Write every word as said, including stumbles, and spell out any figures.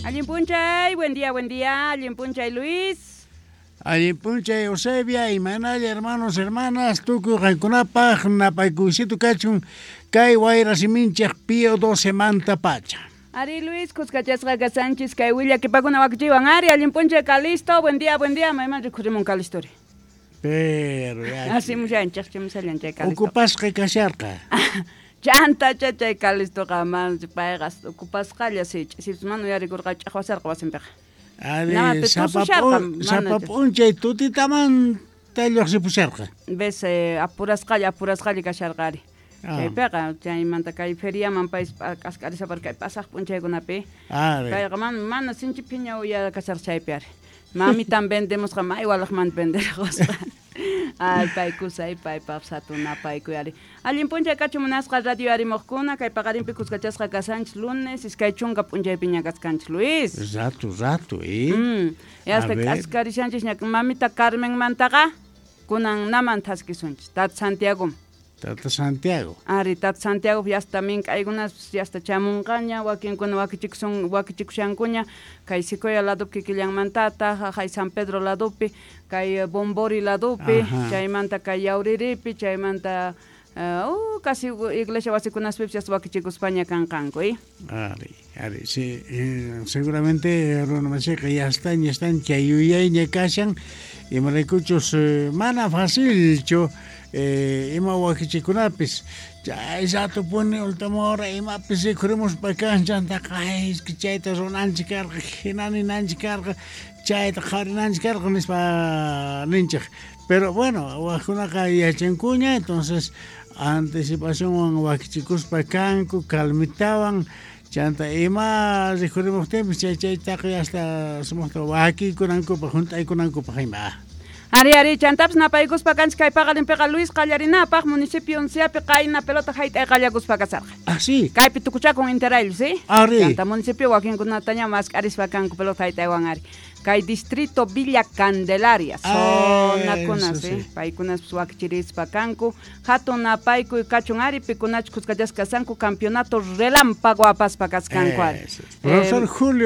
Allin p'unchay, buen día, buen día. Allin p'unchay, Luis. Allin p'unchay, Eusebia, imaynalla, hermanos, hermanas, tukuy qankunapaq napaykuysito kachun kay wayra siminchik Pío doce manta pacha. Ari Luis, kuskachasqa kashanchis kay willakipakuna wakichiwan. Ari, allin p'unchay, Calisto, buen día, buen día. Mayman rikhurimun Calistori. Pero ya. Asimushanchik, chimusallan chay Calisto. Ocupasqa kasharqa. Chanta chay Calistoqa man payqa ocupasqalla si ch'isipis mana uyarikurqa ch'aqwasarqa wasinpiqa. Ari, sapa p'unchay tutitaman lluqsipusharqa. Ves, eh, apurasqalla, apurasqalla kasharqa ari. Chaypiqa chaymanta kay feriaman pay k'ask'arisapar kay pasaq p'unchaykunapi. Kayqa mana mana sinchi phiña uya kasharqa chaypi ari. Mamitan vendemusqa may walaqmanta venderqusqa. Ay, paykusay, paypaq satunapaykuy ari. Allin p'unchay kachun munasqa radio arimuqkuna, kay paqarinpi kuskachasqa kasanchis lunes, iskay chunka p'unchaypiña kaskanchis, Luis. Rato, rato, eh. Mm, hasta k'askarishanchis ña mamita Carmenmantaqa kunan naman thaskisunchis, Tata Santiago. Tata Santiago. Ari, Tata Santiago yasta mink'aykunas yasta chamunqaña, wakinkuna wakichikusun wakichikushankuña, kay Secoya ladupi kikillanmantata, jaqay San Pedro ladupi, kay Bombori ladupi, chaymanta kay Yauriripi, chaymanta uh, uh, casi iglesia wasikunaspipis yasta wakichikuspaña kanqanku, eh? Ari, ari, sí, eh, seguramente runa masiqa ya están, ya están, chay yuyayña kashan, imaraykuchus eh, mana facilchu eh, ima wakichikunapis chay rato puni última hora imapis rikhurimuspa kanchantaqa ay es que chayta runanchik karqa, hina ninanchik karqa, chayta qhawarinanchik karqa nispa ninchik. Pero bueno, wakkunaqa yachankuña, entonces anticipacionwan wakichikuspa kanku, calmitawan, chanta ima rikhurimuqtinpis chay chaytaqa hasta sumaqta wakikunankupaq, hunt'aykunankupaq ima. Ari, ari, chantapis napaykuspa kanchis kay paqarinpiqa Luis qallarinapaq municipio onceapi qayna pelota hayt'ay qallakuspa kasarqa. Ah, sí. Kaypi tukuchakun interayllu, sí? Ari. Chanta municipio wakinkunataña mask'arispa kanku pelota hayt'aywan ari. Kay distrito Villa Candelaria, zonakuna, ah, sí? Sí. Paykunas wakichirispa kanku. Hatun napaykuy kachun ari, pikunachus kuskachasqa kasanku campeonato relámpago apaspa kaskanku ari. Profesor eh, Julio